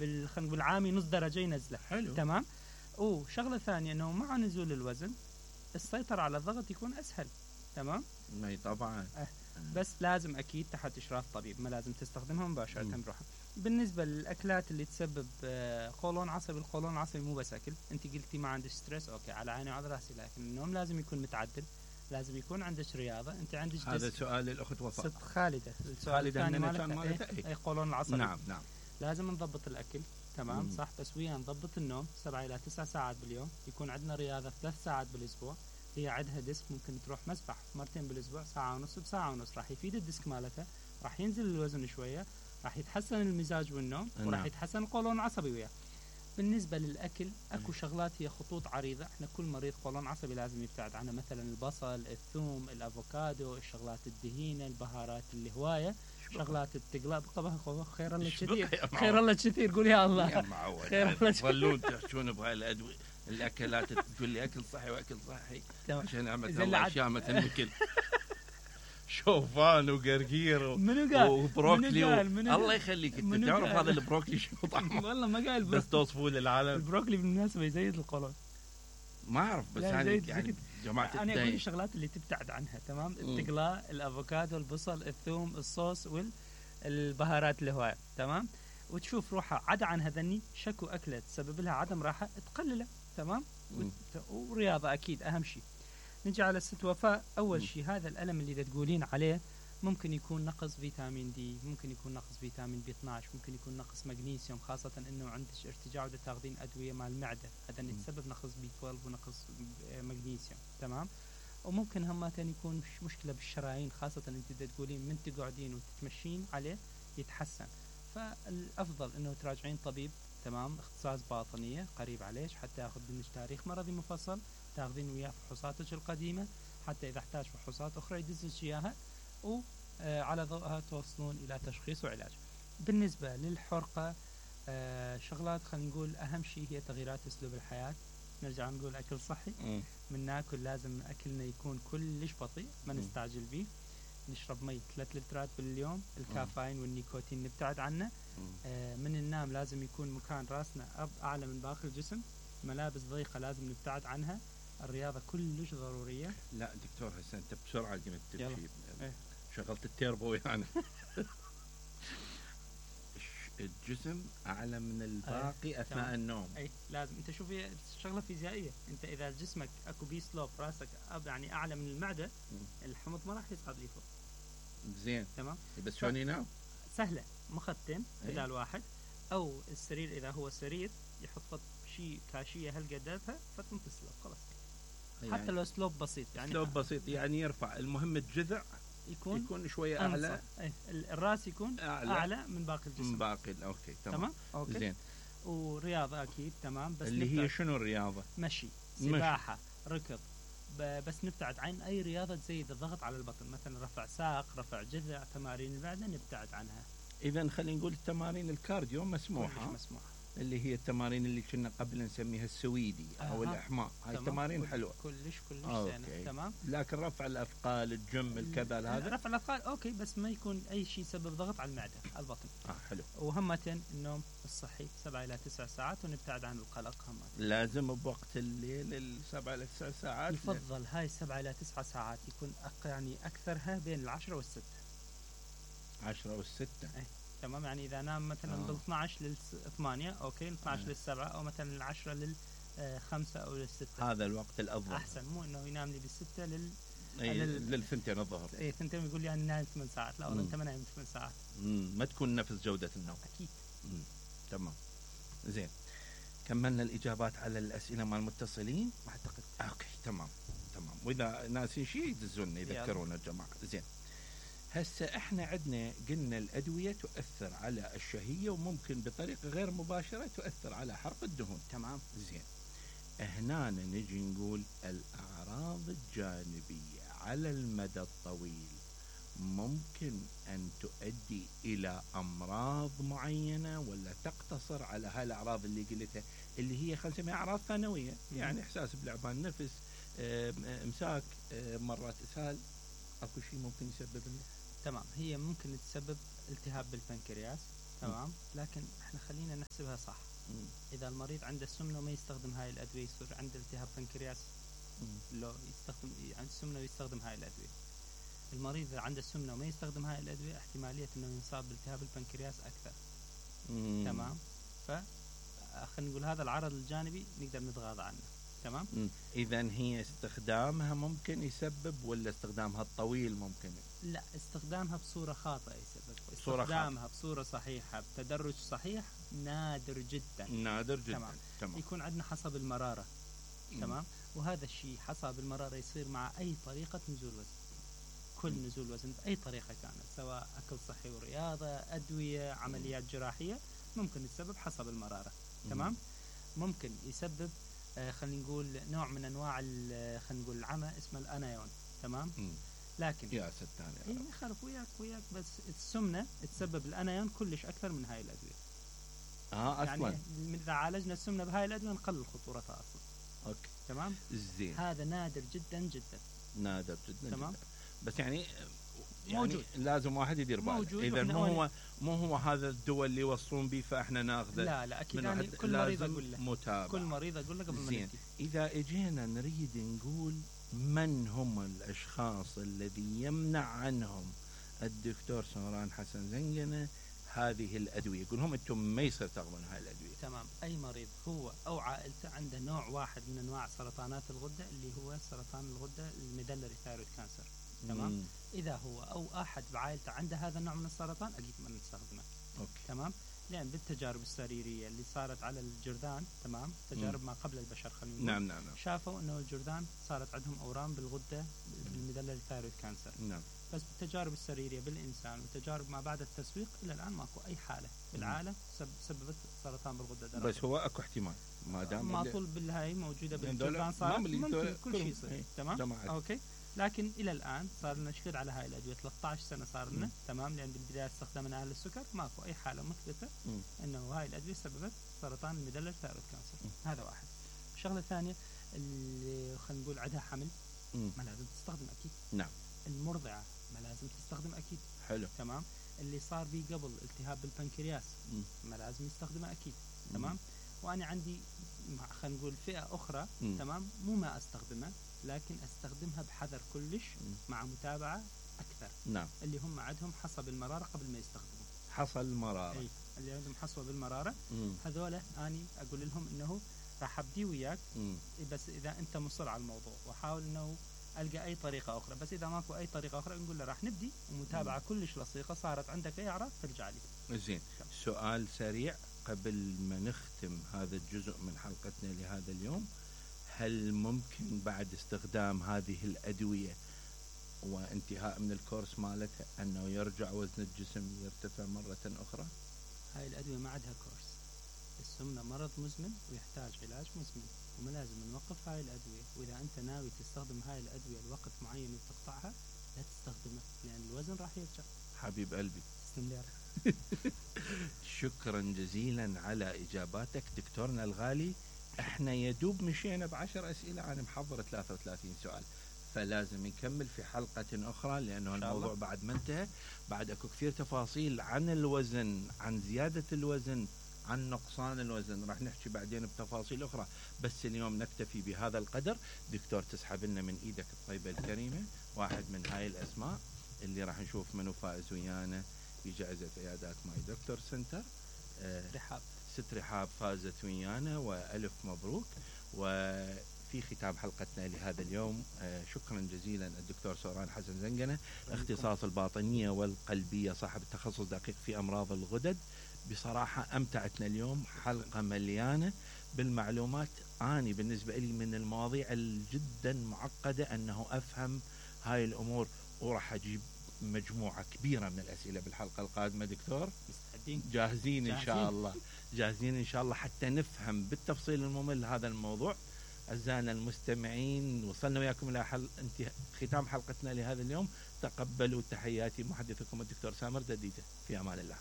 خلينا نقول عامي نص درجة ينزله. حلو. تمام. وشغلة ثانية انه مع نزول الوزن السيطرة على الضغط يكون اسهل. تمام. اي طبعا. بس لازم اكيد تحت اشراف طبيب، ما لازم تستخدمها مباشرة بروحها. بالنسبة للاكلات اللي تسبب قولون عصبي، القولون العصبي مو بس اكل. انت قلتي ما عندك ستريس، اوكي على عيني وعلى راسي، لكن النوم لازم يكون متعدل، لازم يكون عندك رياضة. انت عندك هذا سؤال الاخت وفاء. ست خالدة. السؤال الثاني مالتها اي قولون العصبي. نعم. لازم نضبط الاكل. تمام. صح. بس ويا نضبط النوم 7 إلى 9 ساعات باليوم. يكون عندنا رياضة 3 ساعات بالاسبوع. هي عندها ديسك، ممكن تروح مسبح مرتين بالاسبوع، ساعة ونص بساعة ونص، راح يفيد الديسك مالتها، راح ينزل الوزن شوية، راح يتحسن المزاج والنوم، وراح يتحسن القولون العصبي وياه. بالنسبة للأكل اكو شغلات هي خطوط عريضة، احنا كل مريض قولون عصبي لازم يبتعد عنها، مثلا البصل، الثوم، الافوكادو، الشغلات الدهينة، البهارات اللي هواية، شغلات التقلاب. خير الله كثير، خير الله كثير، قول يا الله. خير الله. ظلون تحشون بهاي الادوية الاكلات، تقول لي اكل صحي واكل صحي عشان اعمل اشياء مثل مثل شوفان وقرقير وبروكلي الله يخليك. انت تعرف هذا البروكلي شو طعمه؟ والله ما قايل، بس توصفوه للعالم. البروكلي بالمناسبة يزيد القولون. ما اعرف بس يعني جماعة انا اقول الشغلات اللي تبتعد عنها. تمام. التقلاء، الافوكادو، البصل، الثوم، الصوص والبهارات الهواية. تمام. وتشوف روحها عدا عن هذني شكو أكلة تسبب لها عدم راحة تقلله. تمام. ورياضة أكيد أهم شيء. نجي على ست وفاء. أول شيء هذا الألم اللي تقولين عليه ممكن يكون نقص فيتامين دي، ممكن يكون نقص فيتامين بي 12، ممكن يكون نقص مغنيسيوم، خاصة إنه عندك ارتجاع وتاخذين أدوية مع المعدة، هذا يتسبب نقص بي 12 ونقص مغنيسيوم. تمام. وممكن همتين يكون مشكلة بالشرايين، خاصة أنت تقولين من تقعدين وتتمشين عليه يتحسن. فالأفضل إنه تراجعين طبيب. تمام. اختصاص باطنية قريب عليك، حتى ياخذ منك تاريخ مرضي مفصل، تاخذين وياه فحوصاتك القديمة، حتى إذا احتاج فحوصات أخرى يدزلك إياها، وعلى ضوءها توصلون إلى تشخيص وعلاج. بالنسبة للحرقة شغلات خلينا نقول أهم شيء هي تغييرات أسلوب الحياة. نرجع نقول أكل صحي. من ناكل لازم أكلنا يكون كلش بطيء، ما نستعجل به. نشرب مي 3 لترات باليوم. الكافيين والنيكوتين نبتعد عنه. من النوم لازم يكون مكان راسنا أعلى من باقي الجسم. ملابس ضيقة لازم نبتعد عنها. الرياضة كلش ضرورية. لا دكتور هسه أنت بسرعة قمت تمشي. شغلت التيربو يعني. الجسم أعلى من الباقي أثناء النوم. أي لازم. أنت شوفي شغلة فيزيائية، أنت إذا جسمك أكو بي سلوب، راسك يعني أعلى من المعدة، الحمض ما راح يصعد لي فوق. زين. تمام. بس شلون ينام؟ سهلة. مخدتين بدال واحد، أو السرير إذا هو سرير يحط شيء كاشية هالقدرها فتنتصله خلاص. يعني حتى لو سلوب بسيط، يعني سلوب بسيط يعني يرفع. المهم الجذع يكون شوية أعلى. الراس يكون أعلى من باقي الجسم. من باقي. أوكي تمام. أوكي. زين. ورياضة أكيد. تمام. بس اللي هي شنو الرياضة؟ مشي، سباحة، ركض. بس نبتعد عن أي رياضة تزيد الضغط على البطن، مثلا رفع ساق، رفع جذع، تمارين المعدة نبتعد عنها. إذا خلينا نقول التمارين الكارديو مسموحة. اللي هي التمارين اللي كنا قبل نسميها السويدي أو الإحماء. هاي التمارين حلوة كلش زينة. تمام. لكن رفع الأثقال، الجيم، الكذا، هذا رفع الأثقال أوكي، بس ما يكون أي شيء سبب ضغط على المعدة، على البطن. حلو. وهمتين النوم الصحي 7 إلى 9 ساعات، ونبتعد عن القلق. همتين لازم بوقت الليل 7 إلى 9 ساعات. يفضل هاي 7 إلى 9 ساعات يكون يعني أكثرها بين 10 والستة. 10 والستة. تمام. يعني إذا نام مثلا من 12 لل 8 أوكي، 12 لل 7، أو مثلا من 10 لل 5 أو لل 6. هذا الوقت الأفضل. أحسن. مو إنه ينام لي بالستة للثنتين الظهر. ثنتين يقول لي أنا نايم 8 ساعات. لا والله أنت ما نايم 8 ساعات. ما تكون نفس جودة النوم. أكيد. تمام. زين. كملنا الإجابات على الأسئلة مع المتصلين أعتقد. أوكي تمام. وإذا ناسين شيء يدزونا يذكرونا الجماعة. زين. هسه احنا عندنا قلنا الأدوية تؤثر على الشهية، وممكن بطريقة غير مباشرة تؤثر على حرق الدهون. تمام. زين. هنا نجي نقول الأعراض الجانبية على المدى الطويل ممكن أن تؤدي إلى أمراض معينة، ولا تقتصر على هاي الأعراض اللي قلتها اللي هي خلينا نسميها أعراض ثانوية؟ يعني إحساس بلعبان نفس، إمساك، مرات إسهال، أكو شيء ممكن يسبب لنا؟ تمام. هي ممكن تسبب التهاب بالبنكرياس. تمام، لكن احنا خلينا نحسبها صح. اذا المريض عنده سمنه وما يستخدم هاي الادويه يصير عنده التهاب بنكرياس، لو يستخدم عنده سمنه ويستخدم هاي الادويه. المريض اذا عنده سمنه وما يستخدم هاي الادويه احتماليه انه ينصاب بالتهاب البنكرياس اكثر. تمام، ف خلينا نقول هذا العرض الجانبي نقدر نتغاضى عنه. تمام. اذا هي استخدامها ممكن يسبب ولا استخدامها الطويل ممكن؟ لا، استخدامها بصوره خاطئه يسبب. استخدامها بصوره صحيحه بتدرج صحيح نادر جدا. نادر جدا. تمام. يكون عندنا حصى بالمراره. تمام. وهذا الشيء حصى بالمراره يصير مع اي طريقه نزول وزن. كل نزول وزن باي طريقه كانت، سواء اكل صحي ورياضه، ادويه، عمليات جراحيه، ممكن يسبب حصى بالمراره. تمام. ممكن يسبب خلينا نقول نوع من انواع خلينا نقول العمى اسمه الانايون. تمام. لكن يا ستان اي ما يخالف، وياك بس السمنه تسبب الانايون كلش اكثر من هاي الادويه. اصلا يعني اذا عالجنا السمنه بهاي الادويه نقلل خطورتها اصلا. اوكي. تمام. زين. هذا نادر جدا جدا. نادر جدا. تمام. جدا. بس يعني موجود. لازم واحد يدير باله. اذا مو هو هذا الدواء اللي يوصلون به فاحنا ناخذه. لا اكيد. يعني كل مريض اقول له متابعة. كل مريض اقول له قبل ما نبدي. اذا اجينا نريد نقول من هم الاشخاص الذي يمنع عنهم الدكتور سمران حسن زنقنة هذه الادويه، يقول لهم انتم ما يصير تاخذون هاي الادويه. تمام. اي مريض هو او عائلته عنده نوع واحد من انواع سرطانات الغده اللي هو سرطان الغده الميدلري ثايرويد كانسر. تمام. اذا هو او احد بعائلته عنده هذا النوع من السرطان اكيد ما نستخدمه. اوكي. تمام. لان بالتجارب السريريه اللي صارت على الجرذان، تمام، تجارب ما قبل البشر خلينا نقول، نعم. شافوا انه الجرذان صارت عندهم اورام بالغده بالميدلري ثايرويد كانسر. نعم. بس بالتجارب السريريه بالانسان وتجارب ما بعد التسويق الى الان ماكو اي حاله بالعالم سببت سرطان بالغده الدرقيه. بس هو اكو احتمال ما دام ما طول بالهاي موجوده بالجرذان صار ممكن كل شيء يصير. تمام. اوكي. لكن الى الان صار لنا شهود على هاي الادويه 13 سنه صار لنا. تمام. لان بالبدايه استخدمنا اهل السكر ماكو اي حاله مثبته انه هاي الادويه سببت سرطان الميدلري ثايرويد كانسر. هذا واحد. الشغله الثانيه اللي خلينا نقول عندها حمل ما لازم تستخدم اكيد. نعم. المرضعه ما لازم تستخدم اكيد. حلو. تمام. اللي صار به قبل التهاب بالبنكرياس ما لازم يستخدمه اكيد. تمام. وانا عندي خلينا نقول فئه اخرى. تمام. مو ما استخدمها لكن استخدمها بحذر كلش مع متابعه اكثر. نعم. اللي هم عندهم حصى بالمراره قبل ما يستخدموا حصى المراره. اي اللي عندهم حصوه بالمراره هذول اني اقول لهم انه راح ابدي وياك بس اذا انت مصر على الموضوع، واحاول انه القى اي طريقه اخرى. بس اذا ماكو اي طريقه اخرى نقول له راح نبدي ومتابعه كلش لصيقه. صارت عندك اي اعراض ترجع لي. زين. سؤال سريع قبل ما نختم هذا الجزء من حلقتنا لهذا اليوم، هل ممكن بعد استخدام هذه الادويه وانتهاء من الكورس مالتها انه يرجع وزن الجسم يرتفع مره اخرى؟ هاي الادويه ما عندها كورس. السمنه مرض مزمن ويحتاج علاج مزمن وما لازم نوقف هاي الادويه. واذا انت ناوي تستخدم هاي الادويه لوقت معين وتقطعها لا تستخدمها لان الوزن راح يرجع. حبيب قلبي تسلم لي. شكرا جزيلا على اجاباتك دكتورنا الغالي. احنا يدوب مشينا ب10 اسئله، انا محضر 33 سؤال، فلازم نكمل في حلقه اخرى لانه الموضوع بعد ما انتهى. بعد اكو كثير تفاصيل عن الوزن، عن زياده الوزن، عن نقصان الوزن، راح نحكي بعدين بتفاصيل اخرى. بس اليوم نكتفي بهذا القدر. دكتور تسحب لنا من ايدك الطيبه الكريمه واحد من هاي الاسماء اللي راح نشوف منو فائز ويانا بجائزه عيادات ماي دكتور سنتر. رحاب. ست رحاب فازت ويانا والف مبروك. وفي ختام حلقتنا لهذا اليوم شكرا جزيلا الدكتور سمران حسن زنقنة، اختصاص الباطنيه والقلبيه، صاحب التخصص دقيق في امراض الغدد. بصراحه امتعتنا اليوم، حلقه مليانه بالمعلومات. اني بالنسبه لي من المواضيع الجدا معقده انه افهم هاي الامور، وراح اجيب مجموعه كبيره من الاسئله بالحلقه القادمه. دكتور جاهزين ان شاء الله؟ جاهزين ان شاء الله حتى نفهم بالتفصيل الممل هذا الموضوع. اعزائنا المستمعين، وصلنا وياكم الى ختام حلقتنا لهذا اليوم. تقبلوا تحياتي محدثكم الدكتور سامر دديده. في امان الله.